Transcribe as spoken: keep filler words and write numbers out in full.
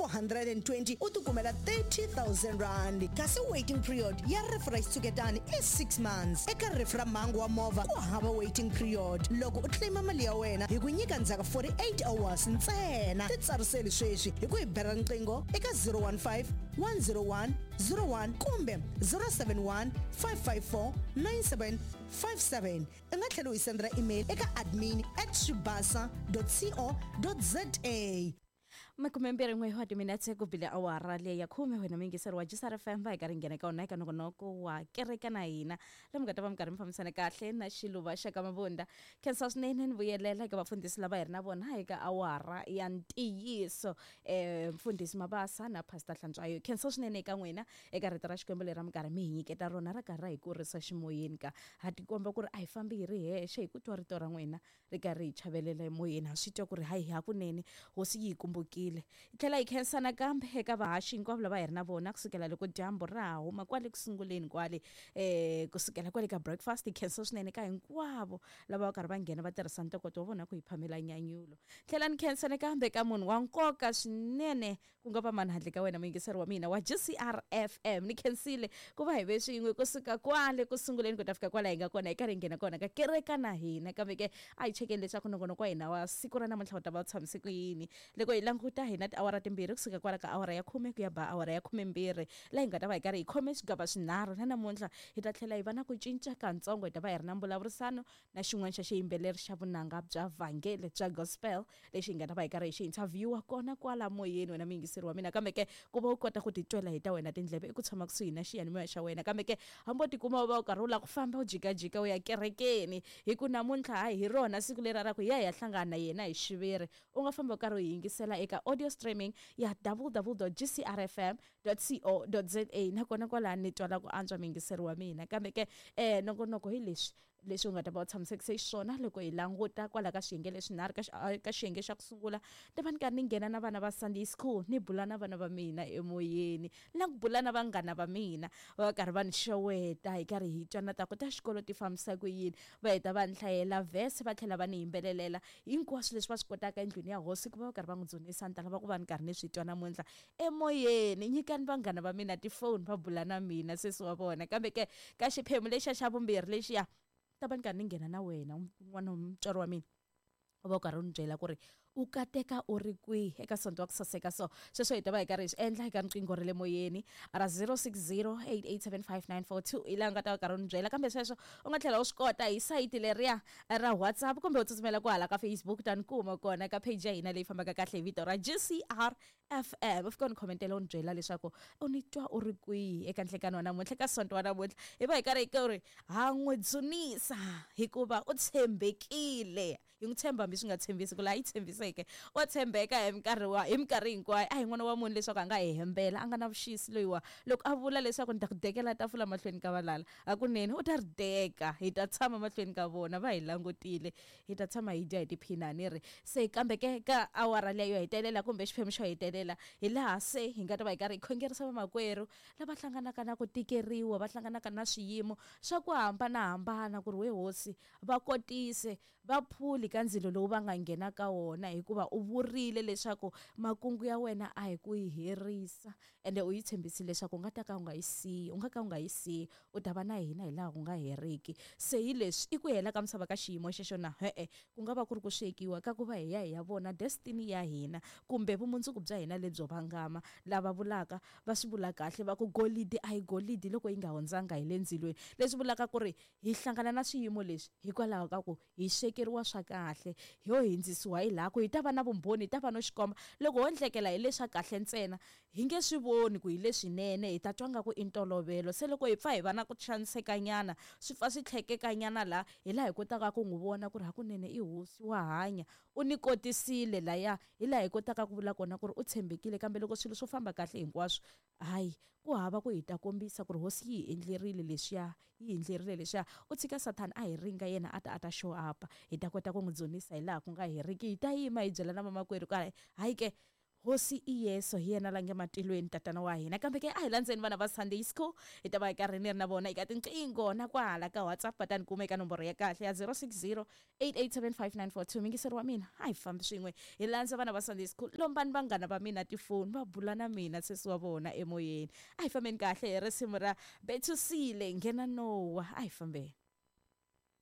four hundred and twenty u tikumela thirty thousand rand. Kasi waiting period ya rifu ra xitshuketani i six months. Eka rifu ra mhangu wa movha ku hava waiting period. Loko u claima mali ya wena hi ku nyika ndzhaku forty-eight hours ntsena. Titsariseli sweswi hi ku hi bela riqingho eka zero one five, one zero one, zero one kumbe zero seven one, five five four, nine seven five seven. U nga tlhela u hi sendela email eka admin at swibasa dot co dot za. Makume mbirhi n'we wa timinetse ku bile awara leyi ya khume wena muyingiseri wa G C R F M va hi karhi nghena ka wona eka nongonoko wa kereke na hina lomu nga ta va mi karhi mi fambisana kahle na xiluva xa ka Mabunda. Khensa swinene ni vuyelela eka vafundhisi lava hi ri na vona eka awara ya ntiyiso, eh, mfundhisi Mabasa na Pastor Hlantswayo. Khensa swinene eka n'wina eka rito ra Xikwembu leri mi karhi mi hi nyiketa rona ra karhi ra hi kurisa ximoyeni ka ha tikomba ku ri a hi fambi hi ri hexe hi ku twa rito ra n'wina ri karhi hi chavelela emoyeni. Ha swi twa ku ri hayi hakunene hosi yi hi kumbukile. Hi tlhela hi khensa nakambe eka vahaxi hinkwavo lava hi ri na vona kusukela loko dyambu ra ha huma kwale kusunguleni kwale, eh, kusukela kwale ka breakfast. Hi khensa swinene ka hinkwavo lava va karhi va nghena va tirhisa ntokoto wa vona ku hi phamela nyanyulo. Tlhela ni khensa nakambe ka munhu wa nkoka swinene ku nga va mani handle ka wena muyingiseri wa mina wa G C R F M. Ni khensile ku va hi ve swin'we kusuka kwale kusunguleni ku ta fika kwala hi nga kona hi karhi hi nghena kona ka kereka na hina. Kambe ke a hi chekeni leswaku nongonoko wa hina wa siku ra namuntlha wu ta va wu tshamise ku yini. Loko hi languta hina tiawara timbirhi kusuka kwala ka awara ya khume ku ya ba awara ya khumembirhi laha hi nga ta va hi karhi hi khome swigava swinharhu. Na namuntlha hi ta tlhela hi va na ku cinca katsongo, hi ta va hi ri na mbulavurisano na xin'wana xa xiyimbeleri xa vunanga bya vhangele bya gospel lexi hi nga ta va hi karhi hi xi interviewa kona kwala moyeni wena muyingiseri wa mina. Kambe ke ku va u kota ku titwela hi ta wena tindleve i ku tshama kusuhi na xiyanimoya xa wena. Kambe ke hambi u tikuma u va u karhi u lava ku famba u jikajika u ya kerekeni hi ku namuntlha hayi hi rona siku leri ra ku ya hi ya hlangana na yena hi xiviri, u nga famba u karhi u yingisela eka audio streaming ya w w w dot g c r f m dot co dot z a. Nakona kwalano ni twala ku antswa muyingiseri wa mina. Kambe ke, eh, nongonoko hi leswi leswi u nga ta va u tshamisekise xiswona loko hi languta kwala ka swiyenge leswinharhu. Ka xi-, a, ka xiyenge xa ku sungula ni va ni karhi ni nghena na vana va Sunday school, ni bula na vana va mina emoyeni, na ku bula na vanghana va mina va karhi va ni xeweta, hi karhi hi twa na ta ku ta xikolo ti fambisa ku yini, va heta va ni hlayela verse va tlhela va ni yimbelelela hinkwaswo leswi va swi kotaka endlwini ya hosi ku va va karhi va n'wi dzunisa. Ni ta lava ku va ni karhi ni swi twa namuntlha emoyeni. Nyikani vanghana va mina tifoni va bula na mina sesi wa vona. Kambe ke ka xiphemu lexiya xa vumbirhi lexiya ta va ni karhi ni nghena na wena n'wana wa mutswari wa mina, u va u karhi u ni byela ku ri u kateka u ri kwihi eka sonto wa ku saseka. So sweswo hi ta va hi karhi hi swi endla eka riqingho ra le moyeni ra zero six zero eight eight seven five nine four two hi laha u nga ta va karhi u ni byela. Kambe sweswo u nga tlhela u swi kota hi sayiti leriya ra WhatsApp kumbe u tsutsumela kwahala ka Facebook ta ni kuma kona ka page ya hina leyi fambaka kahle hi vito ra G C R F M. U fika u ni khomentela u ni byela leswaku u ni twa u ri kwihi eka nhlekani wa namuntlha, eka sonto wa namuntlha. Hi va hi karhi hi ku ri ha n'wi dzunisa hikuva u tshembekile. Hi n'wi tshemba hambi swi nga tshembisi ku laha yi tshembiseke wa tshembeka hi minkarhi wa hi minkarhi hinkwayo. A hi n'wana wa munhu leswaku a nga hi hembela, a nga na vuxisi loyiwa. Loko a vula leswaku ni ta ku dekela tafula mahlweni ka valala, hakunene u ta ri deka, hi ta tshama mahlweni ka vona va hi langutile, hi ta tshama hi dya hi tiphina ni ri se. Kambe ke ka awara leyo hetelela kumbe xiphemu xo hetelela hi laha se hi nga ta va hi karhi hi khongerisa vamakwerhu lava hlanganaka na ku tikeriwa, va hlanganaka na swiyimo swa ku hambanahambana ku ri we hosi va kotise va phuli ka ndzilo lowu va nga nghena ka wona, hikuva u vurile leswaku makungu ya wena a hi ku yi herisa, ende u yi tshembisile leswaku u nga ta ka u nga yi siyi, u nga ka u nga yi siyi, u ta va na hina hi laha ku nga heriki. Se hi leswi i ku hela ka misava ka xiyimo xexo na e-e, ku nga va ku ri ku swekiwa ka ku va hi ya hi ya vona destiny ya hina kumbe vumundzuku bya hina lebyo vangama. Lava vulaka va swi vula kahle va ku golidi a hi golidi loko yi nga hundzanga hi le ndzilweni, leswi vulaka ku ri hi hlangana na swiyimo leswi hikwalaho ka ku hi swekeriwa swa kahle, ho hindzisiwa hi laha ku hi ta va na vumbhoni, hi ta va no xikomba. Loko ho ndlekela hi leswa kahle ntsena hi nge swi voni ku hi leswinene, hi ta twa nga ku i ntolovelo. Se loko hi pfa hi va na ku xanisekanyana, swi pfa swi tlhekekanyana laha, hi laha hi kotaka ku n'wi vona ku ri hakunene i hosi wa hanya, u ni kotisile laya, hi laha hi kotaka ku vula kona ku ri u tshembekile. Kambe loko swilo swo famba kahle hinkwaswo, hayi ku hava ku hi ta kombisa ku ri hosi yi hi endlerile leswiya, yi hi endlerile leswiya. U tshika Sathana a hi ringa yena a ta a ta show up, hi ta kota ku n'wi dzunisa hi laha ku nga heriki. Hi ta yima hi byela na vamakwerhu ka hayi ke Hosi i Yesu hi yena la nge matilweni tatana wa hina. Kambe ke a hi landzeni vana va Sunday School, hi ta va hi karhi ni ri na vona eka tinqingho na kwahala ka WhatsApp. Va ta ni kuma eka nomboro ya kahle ya zero six zero eight eight seven five nine four two. Mingiseri wa mina, a hi fambi swin'we hi landza vana va Sunday School. Lombani vanghana va mina tifoni va bula na mina sesi wa vona emoyeni. A hi fambeni kahle hi risimu ra Bethusile nghena Nowa. A hi fambeni.